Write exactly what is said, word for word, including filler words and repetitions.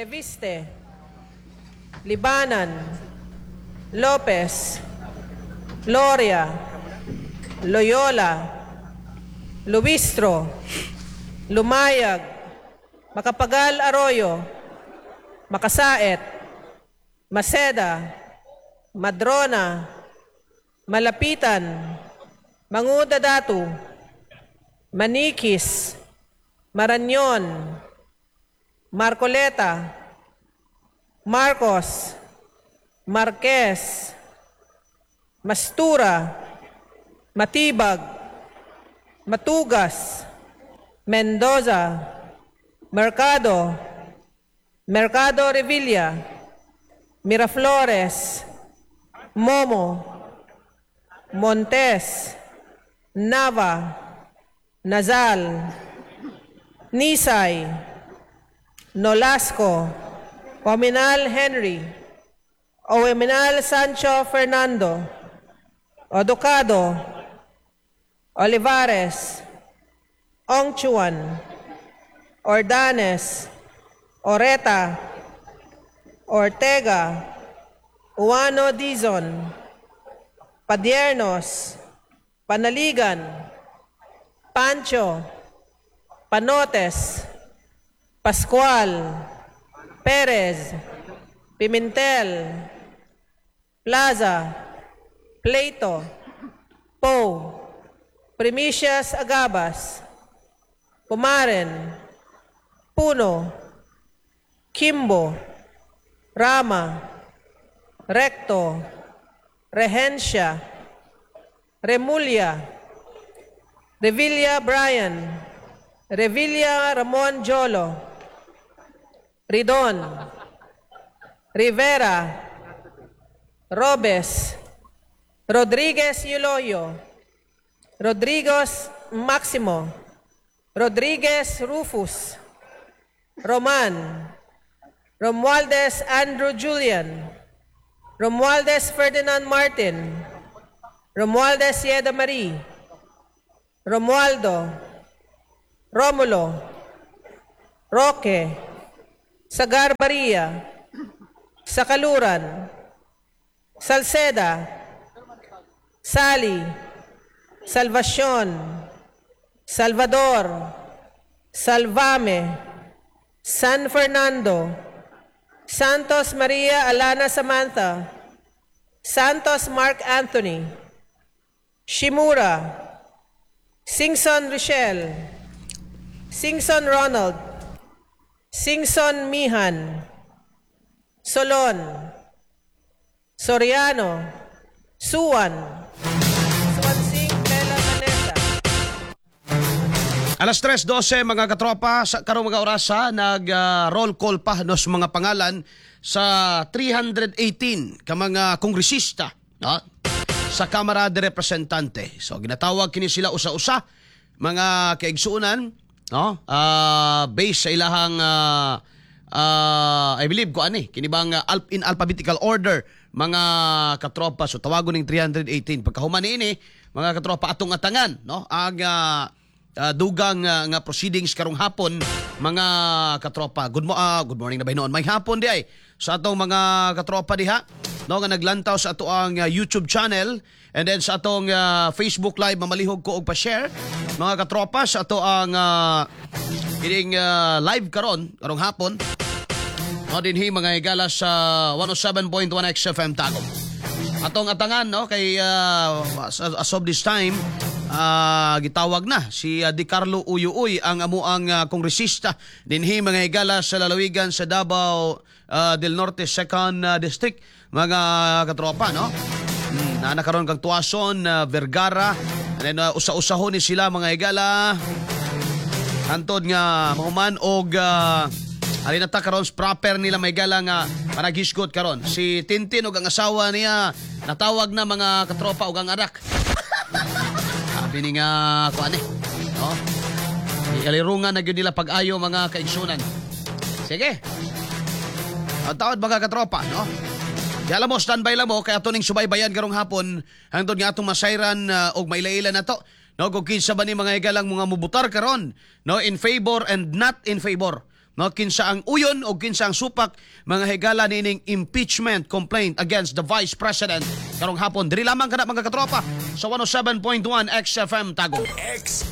Leviste, Libanan, Lopez, Loria, Loyola, Luistro, Lumayag, Macapagal Arroyo, Macasaet, Maceda, Madrona, Malapitan, Mangudadatu, Manikis, Marañon, Marcoleta, Marcos, Marquez, Mastura, Matibag, Matugas, Mendoza, Mercado, Mercado Revilla, Miraflores, Momo, Montes, Nava, Nazal, Nisay, Nolasco, Oaminal Henry, Oaminal Sancho Fernando, Oducado, Olivares, Ongchuan, Ordanes, Oreta, Ortega, Ouano Dizon, Padiernos, Panaligan, Pancho, Panotes, Pascual, Perez, Pimentel, Plaza, Plato, Poe, Primicias Agabas, Pumaren, Puno, Quimbo, Rama, Recto, Regencia, Remulla, Revilla Brian, Revilla Ramon Jolo, Ridon, Rivera, Robes, Rodriguez Euloio, Rodriguez Maximo, Rodriguez Rufus, Roman, Romualdez Andrew Julian, Romualdez Ferdinand Martin, Romualdez Yeda Marie, Romualdo, Romulo, Roque, Sagarbarria, Sakaluran, Salceda, Sali, Salvacion, Salvador, Salvame, San Fernando, Santos Maria Alana Samantha, Santos Mark Anthony, Shimura, Singson Rochelle, Singson Ronald, Singson Mihan, Solon, Soriano, Suan, Suansing Bella Vanessa, Alas tres dose, mga katropa, sa karong mga orasa nag ah, roll call pa nos mga pangalan sa three hundred eighteen ka mga kongresista, no, sa Kamara de Representante. So ginatawag kini sila usa-usa, mga kaigsuonan, no? Ah, based sa ilahang ah, ah, I believe ko ani kini bang ah, alp- in alphabetical order, mga katropa. So tawagon ning three hundred eighteen. Pagkahuman niini, mga katropa, atong atangan, no, ang ah, uh, dugang uh, nga proceedings karong hapon, mga katropa. Good mo ah, good morning na ba noon? May hapon di ay sa atong mga katropa diha, no, nga naglantaw sa ato ang uh, YouTube channel and then sa atong uh, Facebook Live. Mamalihog ko og pa-share, mga katropa, sa ato ang uh, ining uh, live karon karong hapon, no, dinhi, mga higala, sa one oh seven point one X F M Tagum. Atong atangan, no, kay uh, as, as of this time uh, gitawag na si uh, Di Carlo Uyuuy, ang amuang uh, kongresista dinhi, mga higala, sa lalawigan sa Davao uh, del Norte Second uh, District, mga katropa, no. Hmm, na nakaron kang Tuason, uh, Vergara, and then uh, usa-usahon ni sila, mga higala, hantod nga mahuman og uh, alin na ta karon proper nila may gala nga panaghisgot karon. Si Tintin og ang asawa niya natawag na, mga katropa, og ang anak. Sabi ni nga kuan eh. No? Ialirungan na gyud nila pag-ayo, mga kaigsunan. Sige. Ang tawad, mga katropa, no? Di alam mo, standby lang mo, kaya ato ning subaybayan karong hapon, hangtod nga atong masayran uh, og mailaila na to. No, kung kinsa ba ni, mga higalang, mga mubutar karon, no, in favor and not in favor. No, kinsa ang uyon o kinsa ang supak, mga higala, nining impeachment complaint against the Vice President karong hapon. Diri lamang kana, mga katropa, sa one oh seven point one X F M Tagum. X